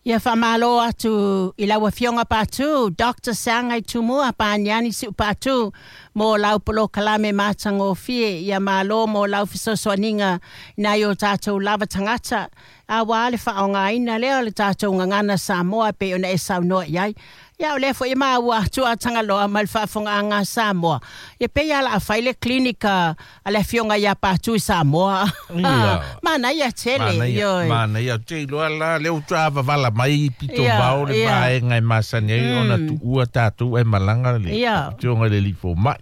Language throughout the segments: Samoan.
Ia faamalo atu i lau Afioga Patu, Doctor Sagai Tumua Paniani Siu Patu, mo lau polokalame matagofie. Ia malo mo lau fesoasoaniga i nai o tatou lava tagata, auā le faaaogaina lea o le tatou gagana Samoa e pei ona e saunoa i ai. Ia o lea foi e maua atu a Tagaloa ma le faafofogaaga a Samoa, ia pei lava o le a fai le clinic a le Afioga ia Patu i Samoa. Ia. Manaia tele. Manaia, Ioe. manaia. Ou te iloa la, lea ua toa vavala mai pito Ia, vao le ia. vaega e masani ai ona tuua tatou ae malaga le Ia. Afioga i le Alii Fomai.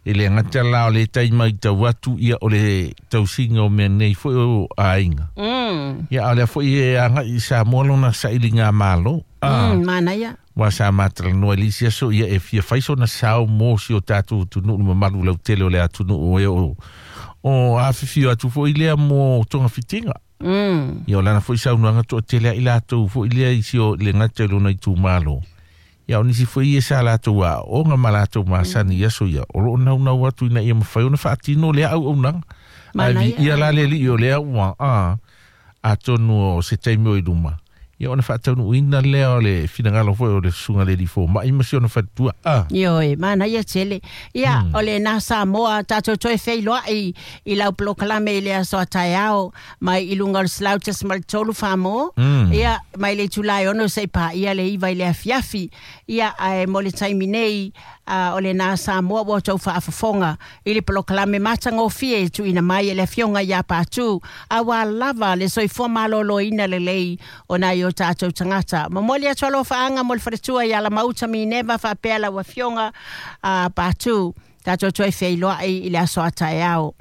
E le gata la o le tai matau atu ia o le tausiga o mea nei foi o aiga. Ia a o lea foi e agai i Samoa lona sailiga malo. Ah. Manaia. Aua sa matalanoa i le isi aso ia e fia fai sona sao mo si o tatou atunuu le mamalu lautele o le atunuu e o o afifio atu foi lea mo togafitiga. Ia o lana foi saunoaga toatele ai latou foi lea i si o le gata i lona itumalo. Ia o nisi foi ia sa latou aooga ma latou masani i aso ia, o loo naunau atu ina ia mafai ona faatino lea auaunaga. Ae Manaia. viia la le Alii o lea ua a atonu o se taimi o i luma. Ia ona faataunuuina lea o le finagalo foi o le susuga i le Alii Fomai ma si ona faletua. A. Ioe, manaia tele. Ia, o lena Samoa, tatou toe feiloai i lau polokalame i le aso a taeao, mai i luga o le 100.3 Samoa. Ia, mai le itula e 6 seia paia le 9 i le afiafi. Ia, ae mo le taimi nei, o lena Samoa ua outou faafofoga i le polokalame matagofie e tuuina mai e le Afioga ia Patu, auā lava le soifua malōlōina lelei o nai o tatou tagata. Momoli atu alofaaga mo le faletua ia Lamauta Mineva faapea lau Afioga Patu, tatou toe feiloai i le aso a taeao.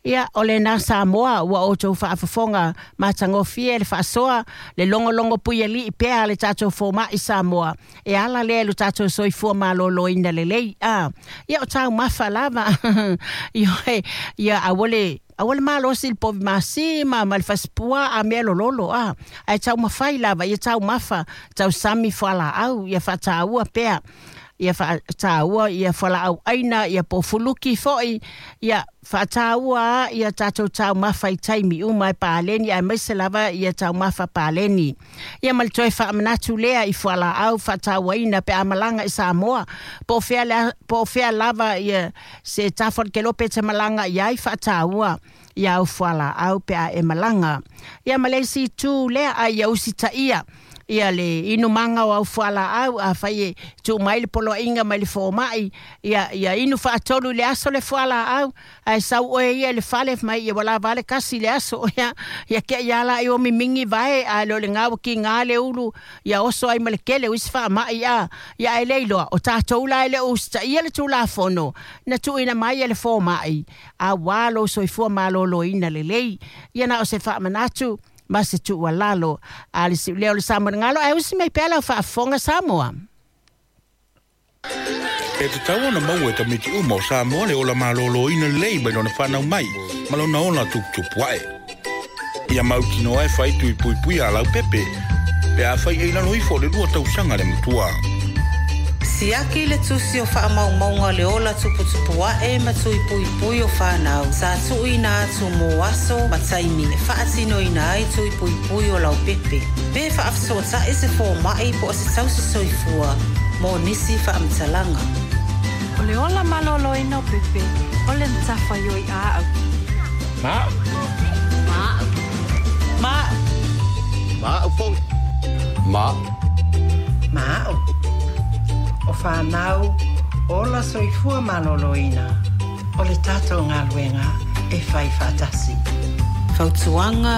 Ia, o lena Samoa ua outou faafofoga matagofie le faasoa, le logologo puialii pea a le tatou fomai Samoa, e ala lea i lo tatou soifua malōlōina lelei. A, ia o taumafa lava. Ioe, ia aua le aua le malosi i le povi masi ma le fasipuaa a mea lololo a. Ae taumafai lava, ia taumafa, tausami fualaau, ia faataua pea. Ia faataua ia fualaau aina, ia pofuluki foi, ia faataua ia tatou taumafa i taimi uma e paleni, aemaise lava ia taumafa paleni. Ia ma le toe faamanatu lea i fualaau faatauaina pe a malaga i Samoa, po o fea lea, po o fea lava ia se tafa o le kelope e te malaga i ai, faataua ia au fualaau pe a e malaga. Ia ma le isi itu lea, a ia usitaia ia le inumaga o au fualaau, afai e tuu mai le poloaiga mai le fomai, ia ia inu faatolu i le aso le fualaau, ae sau oe ia i le fale mai ia ua lava le kasi le aso ia ia tea ia la i o mimingi vae, ae le o le gā ua kigā le ulu ia oso ai ma le kele o isi faamai a ia ae le iloa o tatou la e le o usitaia le tulafono na tuuina mai e le fomai auā lou soifua malōlōina lelei. Ia na o se faamanatu ma se tuualalo a le siulea o le Samoa ae usi mai pea lau faafofoga Samoa. E tatau ona maua e tamaiti uma o Samoa le ola malōlōina lelei mai lona fanau mai ma lona ola tuputupu ae. Ia mautinoa e fai tui puipui a laupepe pe afai e i lalo ifo o le 2 tausaga le matua. Siaki le tusi o faamaumauga o le ola tuputupu ae ma tui puipui o fanau sa tuuina atu mo aso ma taimi e faatinoina ai tui puipui o laupepe. Pe faafesootai se fomai po o se tausi soifua mo nisi faamatalaga. O le ola malōlōina o pepe, o le matafaioi aau. Ma. Ma. Ma. Ma foi. Ma. Ma. O whānau, ola soifua malōlōina. O le tatou galuega e fai faatasi. Fautuaga.